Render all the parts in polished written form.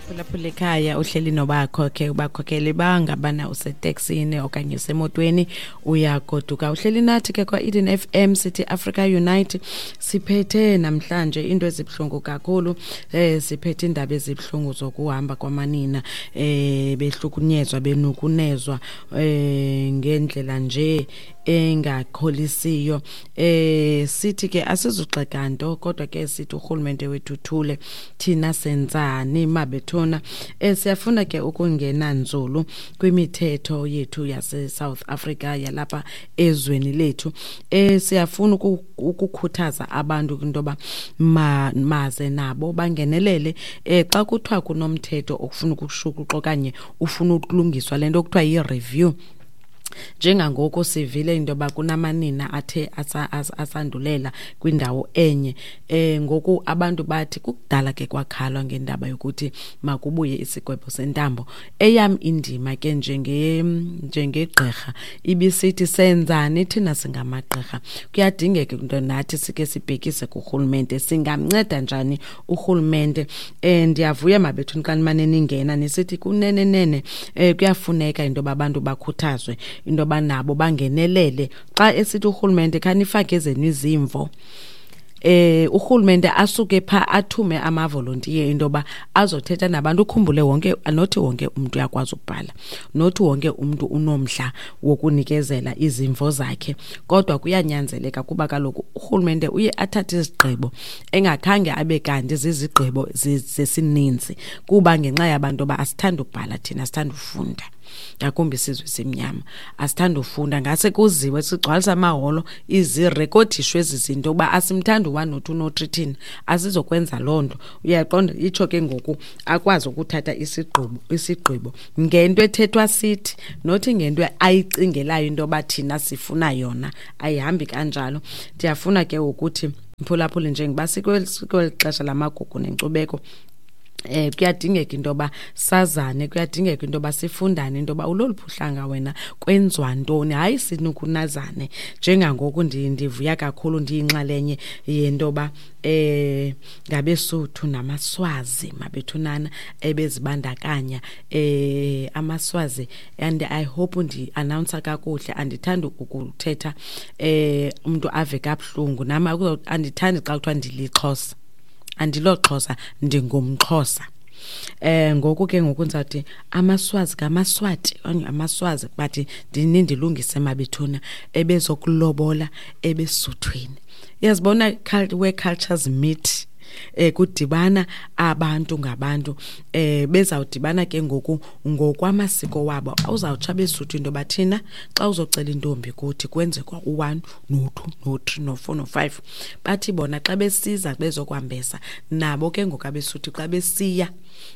Phulaphula ekhaya, uhleli nobakho ke, ubakhokhele bangabana useteksini okanye usemotweni uyagoduka. Uhleli nathi ke kwa-Eden FM, sithi Africa Unite. Siphethe namhlanje into ezibuhlungu kakhulu. Siphethe indaba ezibuhlungu zokuhamba kwamanina, behlukunyezwa, benukunezwa ngendlela nje engakholisiyo. Sithi ke asizugxeka nto, kodwa ke sithi urhulumente wethu uthule, thina senzani mabethuna? Siyafuna ke ukungena nzulu kwimithetho yethu yase South Africa, yalapha ezweni lethu. Siyafuna ukukhuthaza abantu into yoba maze nabo bangenelele xa kuthiwa kunomthetho okufuna ukushukuxa okanye ufuna ukulungiswa, le nto kuthiwa yi-review. Njengangoku sivile into yoba kunamanina athe asandulela kwindawo enye. Ngoku abantu bathi kukudala ke kwakhalwa ngendaba yokuthi makubuye isigwebo sentambo. Eyam indima ke njengegqirha ibisithi senzani thina singamagqirha? Kuyadingeka into nathi sike sibhekise kurhulumente, singamnceda njani urhulumente? Ndiyavuya mabethu xa nimane ningena nisithi kunene nene, kuyafuneka into yoba abantu bakhuthazwe into yoba nabo bangenelele xa esithi urhulumente khanifake ezenu izimvo. Urhulumente asuke pha athume amavolontiye into yoba azothetha nabantu. Ukhumbule wonke, nothi wonke umntu uyakwazi ukubhala, nothi wonke umntu unomdla wokunikezela izimvo zakhe, kodwa kuyanyanzeleka kuba kaloku urhulumente uye athathe izigqibo engakhange abe kanti zizigqibo zesininzi, kuba ngenxa yabantu yoba asithanda ukubhala thina, asithanda ufunda, ngakumbi isizwe simnyama asithanda ufunda. Ngase kuziwe sigcwalisa amaholo, izirekodishwe ezi zinto uba asimthandi u-one no-two no-three, thina asizokwenza loo nto, uyaqonda? Itsho ke ngoku akwazi ukuthatha isigqibo ngento ethethwa sithi, nothi ngento ayicingelayo into yoba thina sifuna yona. Ayihambi kanjalo. Ndiyafuna ke ukuthi mphulaphuli, njengoba sikweli xesha lamagugu nenkcubeko, kuyadingeka into yoba sazane, kuyadingeka into yoba sifundane into yoba uloluphi uhlanga wena, kwenziwa ntoni. Hayi, sinukunazane. Njengangoku ndivuya kakhulu, ndiyinxalenye yento yoba ngabeSuthu namaSwazi mabethunana ebezibandakanya, amaSwazi, and I hope ndi-announce kakuhle. Andithandi ukuthetha umuntu ave kabuhlungu. Nam andithandi xa kuthiwa ndilixhosa. Andiloxhosa, ndingumXhosa. Ngoku ke ngoku ndizawuthi amaSwazi ngamaSwati okanye amaSwazi, but ndinindilungise mabethuna, ebezokulobola ebesuthwini. Uyazibona, where cultures meet, kudibana abantu ngabantu, bezawudibana ke ngoku ngokwamasiko wabo. Uzawutsho abeSuthu into yoba thina xa uzocela intombi kuthi kwenzekwa u-one no-two no-three no-four no-five. Bathi bona xa besiza bezokwambesa, nabo ke ngoku abeSuthu xa besiya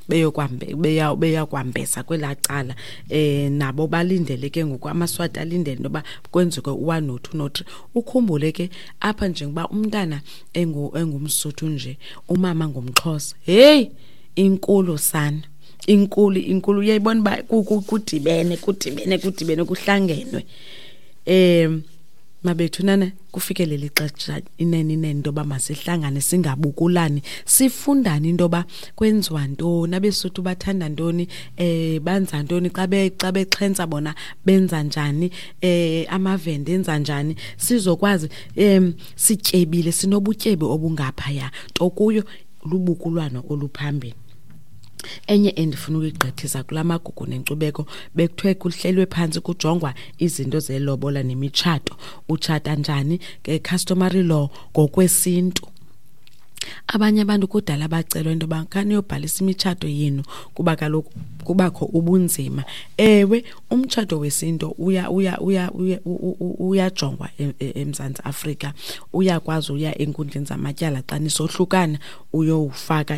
beyakwambesa kwelaa cala, nabo balindele ke ngoku, amaSwati alindele into yoba kwenzeke u-one no-two no-three. Ukhumbule ke apha njengoba umntana engumSuthu nje, umama ngumXhosa, heyi, inkulu sana, inkulu, inkulu. Uyayibona uba kudibene, kudibene, kudibene, kuhlangenwe. Mabethunana, kufikelele ixesha inene inene into yoba masihlangane, singabukulani, sifundane into yoba kwenziwa ntoni, abeSuthu bathanda ntoni, banza ntoni xa bexhentsa bona, benza njani, amaVenda enza njani, sizokwazi. Sityebile, sinobutyebi obungaphaya, nto kuyo lubukulwano oluphambili. Enye endifuna ukuyigqithisa kula magugu nenkcubeko, bekuthiwe kuhlelwe phantsi kujongwa izinto zelobola nemitshato, utshata njani nge-customary law, ngokwesintu. Abanye abantu kudala bacelwa into yoba khaniyobhalisa imitshato yenu kuba kaloku kubakho ubunzima. Ewe, umtshato wesintu uyajongwa eMzantsi Afrika, uyakwazi uya enkundleni zamatyala xa nisohlukana, uyowufaka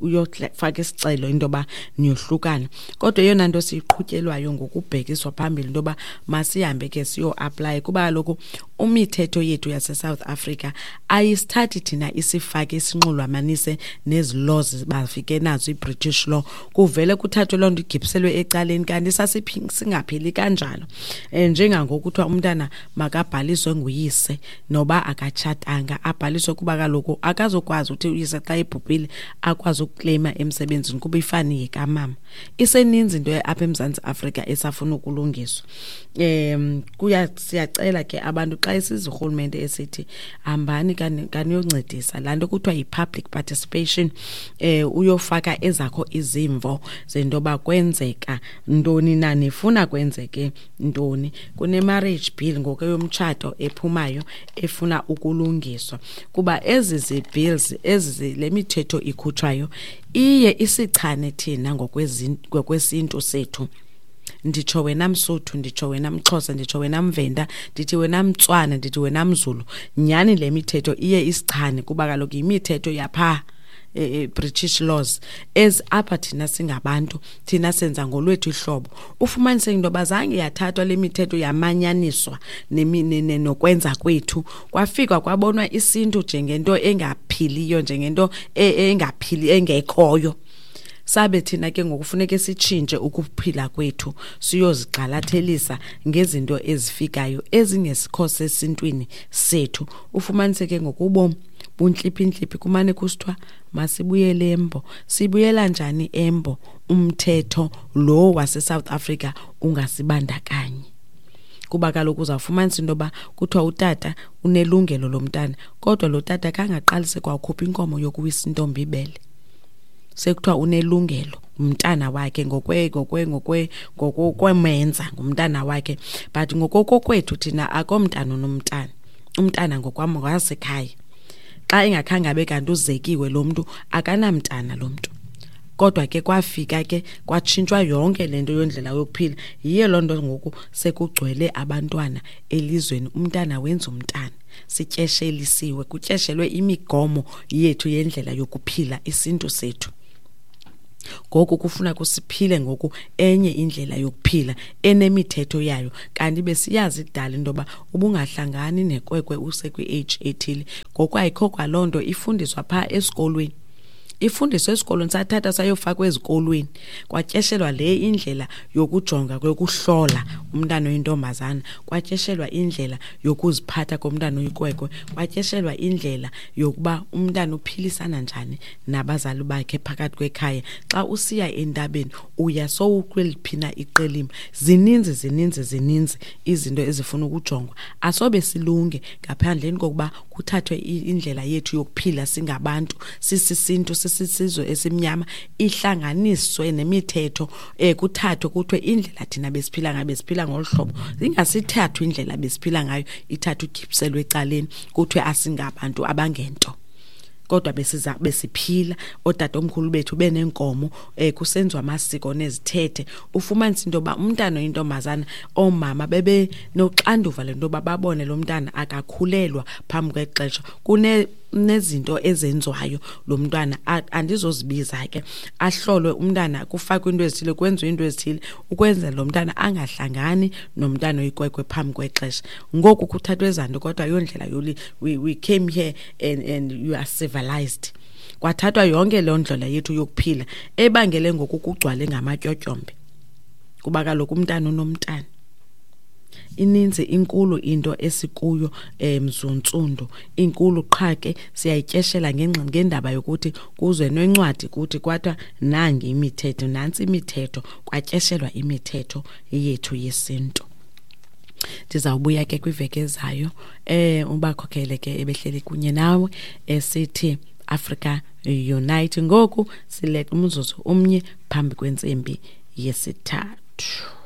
uyofaka isicelo into yoba niyohlukana. Kodwa eyona nto siyiqhutyelwayo ngokubhekiswa phambili into yoba masihambe ke siyoaplaya, kuba kaloku umithetho yethu yaseSouth Africa ayisithathi thina. thina isifake isinxulumanise nezi laws bafike nazo, i-British law, kuvele kuthathwe loo nto igibhiselwe ecaleni, kanti singaphili kanjalo. Njengangoku kuthiwa umntana makabhaliswe nguyise noba akatshatanga, abhaliswe kuba kaloku akazokwazi uthi uyise xa ebhubhile akwazi ukukleyima emsebenzini kuba ifani yekamama. Iseninzi into apha eMzantsi Afrika esafuna ukulungiswa. Siyacela ke abantu xa isiza urhulumente esithi hambani kaniyoncedisa laa nto kuthiwa yi-public participation, uyofaka ezakho izimvo zento yoba kwenzeka ntoni na, nifuna kwenzeke ntoni. Kune-marriage bill ngoku yomtshato ephumayo efuna ukulungiswa, kuba ezi zi-bills, le mithetho ikhutshwayo iye isichane thina ngokwesintu sethu. Nditsho wena Msuthu, nditsho wena Mxhosa, nditsho wena Mvenda, ndithi wena Mtswana, ndithi wena Mzulu. Nyhani le mithetho iye isichane, kuba kaloku yimithetho yapha British laws ez apha. Thina singabantu, thina senza ngolwethu ihlobo. Ufumanise into yoba zange yathathwa le mithetho yamanyaniswa nokwenza kwethu, kwafikwa kwabonwa isintu njengento engaphiliyo, njengento engaphili, engekhoyo. Sabe thina ke ngokufuneke sitshintshe ukuphila kwethu, siyozigxalathelisa ngezinto ezifikayo ezingesikho sesintwini sethu. Ufumanise ke ngokubomi buntliphi-ntliphi, kumane kusithiwa masibuyele embo. Sibuyela njani embo umthetho lo wase-South Africa ungasibandakanyi? Kuba kaloku uzawufumanisa into yoba kuthiwa utata unelungelo lomntana, kodwa lo tata kangaqalise kwakhupha inkomo yokuwisa intombi ibele, sekuthiwa unelungelo, umntana wakhe, ngokwemenza ngumntana wakhe. But ngokokokwethu thina akomntana unomntana, umntana ngokwam ngwasekhaya. Xa engakhange abe kanti uzekiwe lo mntu, akanamntana lo mntu. Kodwa ke kwafika ke kwatshintshwa yonke le nto yondlela yokuphila. Yiyo loo nto ngoku sekugcwele abantwana elizweni, umntana wenza umntana. Sityeshelisiwe, kutyeshelwe imigomo yethu yendlela yokuphila, isintu sethu. Ngoku kufuna kusiphile ngoku enye indlela yokuphila enemithetho yayo, kanti besiyazi kudala into yoba ubungahlangani nekwekwe usekwi-age ethile. Ngoku ayikho kwaloo nto, ifundiswa phaa esikolweni, ifundiswa esikolweni, sathatha sayofakwa ezikolweni, kwatyeshelwa le indlela yokujonga, yokuhlola umntana oyintombazana, kwatyeshelwa indlela yokuziphatha komntana oyikwekwe, kwatyeshelwa indlela yokuba umntana uphilisana njani nabazali bakhe phakathi kwekhaya. Xa usiya entabeni uya sowukweliphi na iqelima. Zininzi, zininzi, zininzi izinto ezifuna ukujongwa. Asobe silunge ngaphandleni kokuba kuthathwe indlela yethu yokuphila singabantu, sisisintu, sisisizwe esimnyama, ihlanganiswe nemithetho, kuthathwe kuthiwe indlela thina besiphila ngayo, besiphila ngolu hlobo. Ingasithathwa indlela besiphila ngayo ithathwe igibhiselwe ecaleni, kuthiwe asingabantu abangento, kodwa besiza besiphila, ootatomkhulu bethu beneenkomo, kusenziwa amasiko nezithethe. Ufumanisa into yoba umntana oyintombazana, oomama bebenoxanduva lento yoba babone lo mntana akakhulelwa phambi kwexesha. Kunezinto ezenziwayo lo mntwana, andizozibiza ke, ahlolwe umntana, kufakwe into ezithile, kwenziwe into ezithile ukwenzela lo mntana angahlangani nomntana oyikwekwe phambi kwexesha. Ngoku kuthathwe ezaa nto, kodwa ayondlela yoli we came here and you are civilized. Kwathathwa yonke loo ndlela yethu yokuphila ebangele ngoku kugcwale ngamatyotyombe, kuba kaloku umntana unomntana. Ininzi, inkulu into esikuyo, mzuntsundu, inkulu. Qha ke siyayityeshela ngendaba yokuthi kuze nencwadi kuthi kwathiwa nangi imithetho, nantsi imithetho, kwatyeshelwa imithetho yethu yesintu. Ndizawubuya ke kwiveki ezayo. Ubakhokhele ke ebehleli kunye nawe esithi Africa Unite. Ngoku sileqa umzuzu 1 phambi kwentsimbi yesithathu.